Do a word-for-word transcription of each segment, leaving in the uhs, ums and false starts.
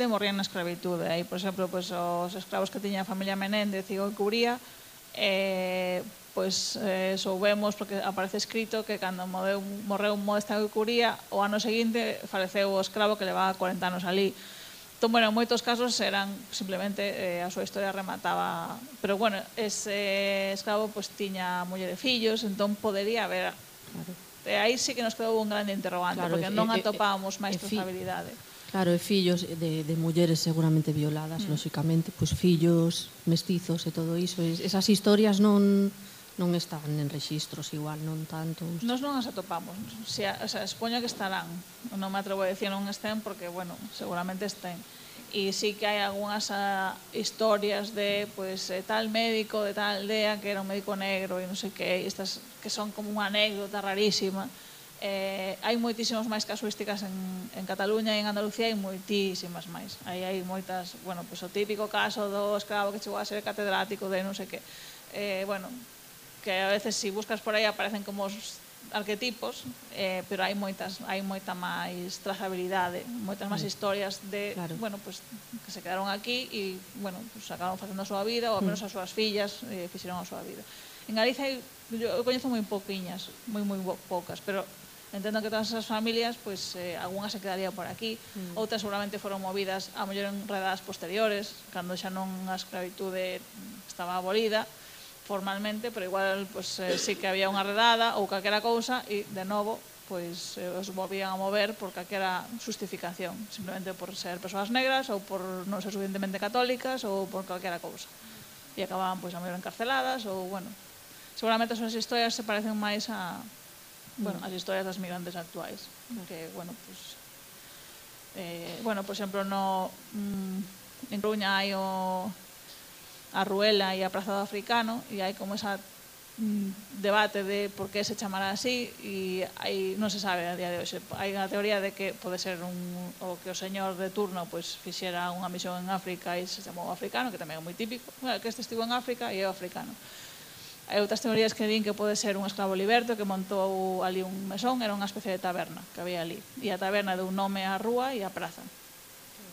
xente morrían na escravitude. Aí, por exemplo, pues, os escravos que tiña a familia Menéndez e o Cubría, eh, pois eh, soubemos, porque aparece escrito que cando morreu, morreu Modesta de Curía, o ano seguinte faleceu o escravo que levaba cuarenta anos ali. Entón, bueno, en moitos casos eran simplemente eh, a súa historia remataba, pero bueno, ese escravo pois tiña muller e fillos, entón podería haber. Claro. E aí sí que nos quedou un grande interrogante, Claro, porque e, non e, atopábamos e, máis e, trazabilidade. Claro, e fillos de, de mulleres seguramente violadas, mm. lóxicamente, pois fillos, mestizos e todo iso. Esas historias non non están en rexistros igual, non tanto. Nos non as atopamos. O sea, o sea, expoño que estarán. Non me atrevo a decir non estén porque, bueno, seguramente estén. E sí que hai algunhas uh, historias de, pues, eh, tal médico de tal aldea que era un médico negro e non sei que, estas que son como unha anécdota rarísima. Eh, hai moitísimas máis casuísticas en, en Cataluña e en Andalucía, hai moitísimas máis. Aí hai moitas, bueno, pues, o típico caso do escravo que chegou a ser catedrático de non sei que. Eh, bueno, que a veces si buscas por aí aparecen como os arquetipos, eh, pero hai moitas, hai moita máis trazabilidade, moitas máis historias de, claro. bueno, pues, que se quedaron aquí e, bueno, pues, acabaron facendo a súa vida, ou ao menos as súas fillas eh, fixeron a súa vida. En Galicia eu coñezo moi pouquiñas, moi moi poucas, pero entendo que todas esas familias, pues, eh, algunhas se quedarían por aquí, mm. outras seguramente foron movidas a mellor en redadas posteriores, cando xa non a escravitude estaba abolida formalmente, pero igual pues, eh, sí que había unha redada ou calquera cousa e, de novo, pues, eh, os volvían a mover por calquera justificación, simplemente por ser persoas negras ou por non ser suficientemente católicas ou por calquera cousa. E acababan, pues, a mellor encarceladas ou, bueno, seguramente as súas historias se parecen máis a, bueno, as historias das migrantes actuais, que, bueno, pues, eh, bueno, por exemplo, no, mm, en Coruña hai o a Ruela e a Praza do Africano e hai como esa mm, debate de por que se chamará así e aí non se sabe a día de hoxe. Hai unha teoría de que pode ser un, o que o señor de turno pues, fixera unha misión en África e se chamou africano, que tamén é moi típico, bueno, que este estivo en África e é o africano. Hai outras teorías que din que pode ser un esclavo liberto que montou ali un mesón, era unha especie de taberna que había ali e a taberna deu nome á rúa e á praza.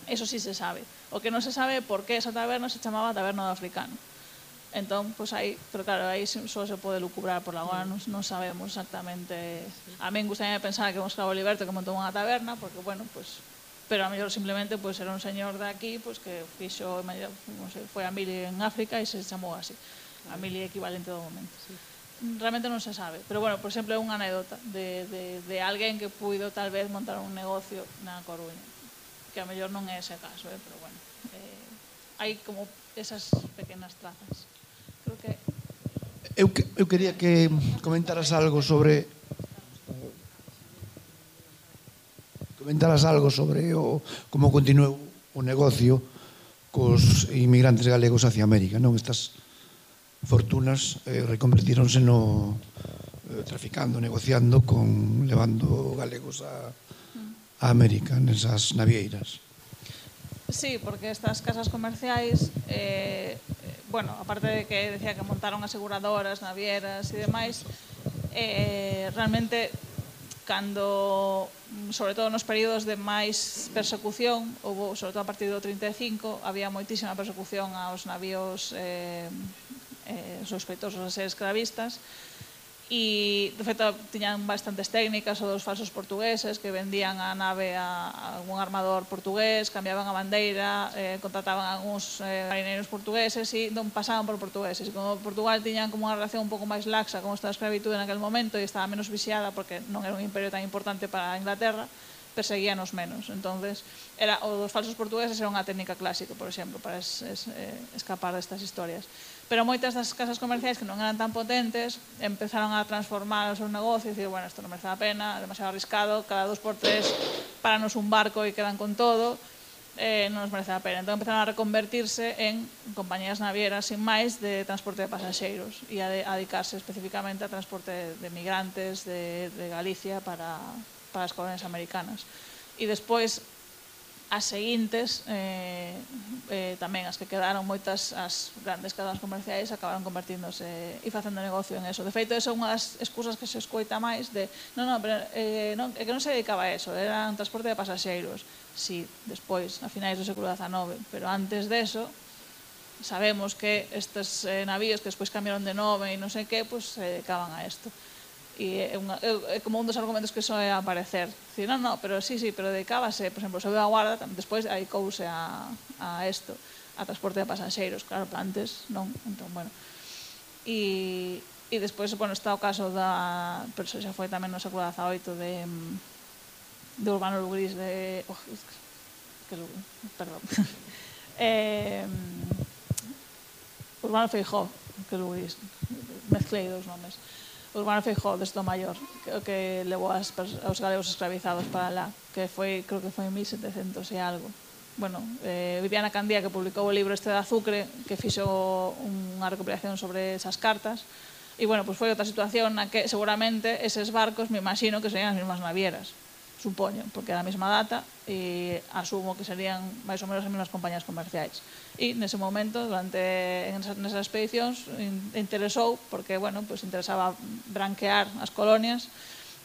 Eso sí se sabe. O que non se sabe é por que esa taberna se chamaba Taberna do Africano. Entón, pues aí, pero claro, aí só se pode lucubrar, por agora non, non sabemos exactamente. A min gustaría pensar que é un esclavo liberto que montou unha taberna, porque, bueno, pues, pero a mellor simplemente pues, era un señor de aquí pues, que fixo, non sei, foi a mili en África e se chamou así. A mili equivalente do momento. Realmente non se sabe, pero, bueno, por exemplo, é unha anécdota de, de, de alguén que puido tal vez montar un negocio na Coruña. Que a mellor non é ese caso, eh? Pero bueno, eh, hai como esas pequenas trazas. Creo que... Eu, que, eu quería que comentaras algo sobre comentaras algo sobre o, como continuou o negocio cos inmigrantes galegos hacia América, non? Estas fortunas eh, reconvertíronse no eh, traficando, negociando con levando galegos a a América, nesas navieiras. Sí, porque estas casas comerciais, eh, bueno, aparte de que decía que montaron aseguradoras, navieras e demais, eh, realmente, cando, sobre todo nos períodos de máis persecución, houve, sobre todo a partir do trinta e cinco, había moitísima persecución aos navíos eh, eh, sospeitosos de ser esclavistas, e de feito tiñan bastantes técnicas ou dos falsos portugueses que vendían a nave a algún armador portugués, cambiaban a bandeira, eh, contrataban a algúns eh, marineiros portugueses e non pasaban por portugueses. E como Portugal tiñan como unha relación un pouco máis laxa con esta escravitude naquele momento e estaba menos vixiada porque non era un imperio tan importante para a Inglaterra, perseguíanos menos. Entonces, era, o dos falsos portugueses era unha técnica clásica, por exemplo, para es, es, eh, escapar destas historias. Pero moitas das casas comerciais que non eran tan potentes empezaron a transformar o seu negocio e dicir, bueno, isto non merece a pena, é demasiado arriscado, cada dos por tres paranos un barco e quedan con todo, eh, non nos merece a pena. Entón empezaron a reconvertirse en compañías navieras sin máis de transporte de pasaxeiros e a, de, a dedicarse especificamente a transporte de, de migrantes de, de Galicia para, para as colonias americanas. E despois, as seguintes, eh, eh, tamén as que quedaron, moitas as grandes cadenas comerciais acabaron convertíndose e facendo negocio en eso. De feito, esa é unha das excusas que se escoita máis de, non, non, pero, eh, non, é que non se dedicaba a eso, era un transporte de pasaxeiros. Sí, despois, a finais do século dezanove, pero antes deso, sabemos que estes eh, navíos que despois cambiaron de nome e non sei que, pues, se dedicaban a isto. E é, unha, é como un dos argumentos que soe aparecer. Dicir, non, non, pero sí, sí, pero dedicábase, por exemplo, o seu da Guarda, despois dedicouse a, a isto, a transporte de pasaxeiros, claro, antes non, entón, bueno. E, e despois, bueno, está o caso da, pero xa foi tamén no século dezaoito de, de Urbano Lugrís, de, oh, que, perdón, eh, Urbano Feijó, que Lugrís, mezclei dos nomes. Urbano Feijó, desde o Maior, que, que levou as, aos galegos escravizados para lá, que foi, creo que foi en mil setecentos e algo. Bueno, eh, Viviana Candía, que publicou o libro este de Azucre, que fixo unha recopilación sobre esas cartas, e, bueno, pues foi outra situación na que seguramente eses barcos, me imagino que serían as mesmas navieras, supoño, porque é a mesma data, e asumo que serían máis ou menos as mesmas compañías comerciais. E nese momento, durante nesas expedicións, interesou, porque, bueno, pues interesaba branquear as colonias,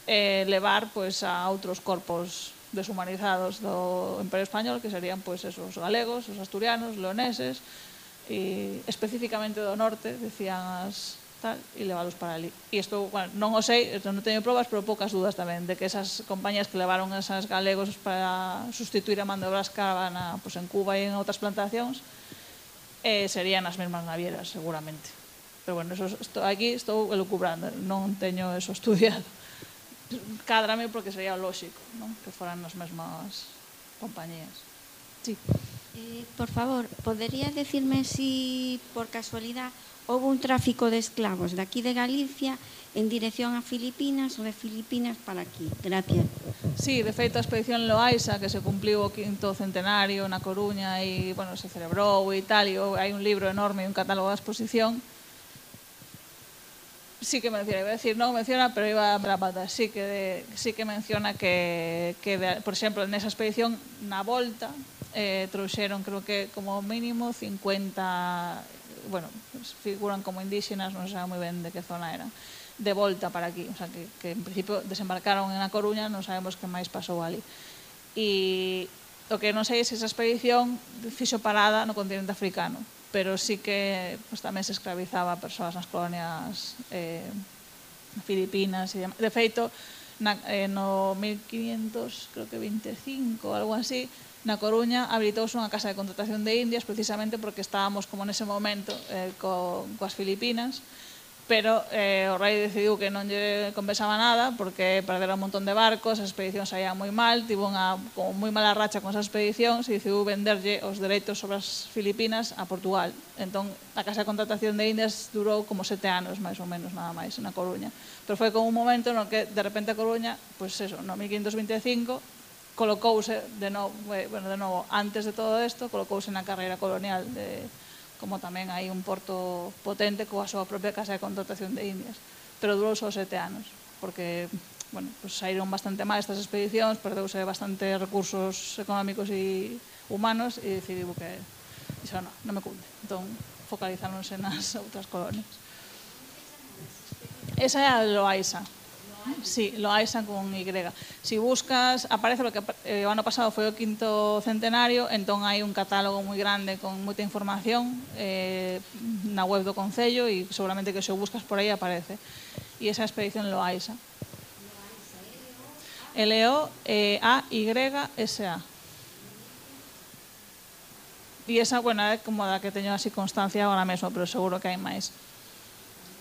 e levar, pues, a outros corpos deshumanizados do Imperio Español, que serían, pues, esos galegos, os asturianos, leoneses, e especificamente do norte, decían as tal, e leválos para ali. E isto, bueno, non o sei, non teño probas, pero poucas dudas tamén, de que esas compañías que levaron esas galegos para sustituir a mano de obra escrava na, pues, en Cuba e en outras plantacións, eh, serían as mesmas navieras, seguramente. Pero, bueno, eso, estou, aquí estou elucubrando, non teño eso estudiado. Cádrame porque sería lóxico, non? Que foran as mesmas compañías. Sí. Eh, por favor, ¿podría decirme si, por casualidad, houve un tráfico de esclavos de aquí de Galicia en dirección a Filipinas ou de Filipinas para aquí? Gracias. Sí, de feito, a expedición Loaiza, que se cumpliu o quinto centenario na Coruña e, bueno, se celebrou e tal, e hai un libro enorme e un catálogo da exposición. Sí que menciona, iba a decir, non menciona, pero iba a la pata, sí que, de, sí que menciona que, que de, por exemplo, nesa expedición, na volta, eh, trouxeron, creo que, como mínimo, cincuenta, bueno, figuran como indígenas, non sei moi ben de que zona eran, de volta para aquí, o sea, que, que en principio desembarcaron en A Coruña, non sabemos que máis pasou ali. E o que non sei é se esa expedición fixo parada no continente africano, pero sí que, pues, tamén se escravizaba a persoas nas colonias eh, filipinas e demais. De feito, na, eh, no mil quinientos, creo que veinticinco, algo así, na Coruña habilitouse unha casa de contratación de indias precisamente porque estábamos como nese momento eh, co, coas Filipinas, pero eh, o rei decidiu que non lle compensaba nada porque perderon un montón de barcos, as expedicións saían moi mal, tivo unha como moi mala racha con esas expedicións e decidiu venderlle os dereitos sobre as Filipinas a Portugal. Entón, a casa de contratación de indias durou como sete anos, máis ou menos, nada máis, na Coruña. Pero foi como un momento no que, de repente, a Coruña, pois pues eso, no mil quinhentos veinticinco, colocouse de novo, bueno, de novo, antes de todo isto, colocouse na carreira colonial de como tamén hai un porto potente coa súa propia casa de contratación de indias, pero durou só sete anos, porque, bueno, pues saíron bastante mal estas expedicións, perdeuse bastante recursos económicos e humanos e decidiu que iso non, non me cunde, entón focalizáronse nas outras colonias. Esa é a Loaiza. Sí, Loaiza con Y. Si buscas, aparece porque eh, o ano pasado foi o quinto centenario, entón hai un catálogo moi grande con moita información eh, na web do Concello e seguramente que se o buscas por aí aparece. E esa expedición Loaiza. L O A Y S A. E esa, bueno, é como da que teño así constancia agora mesmo, pero seguro que hai máis.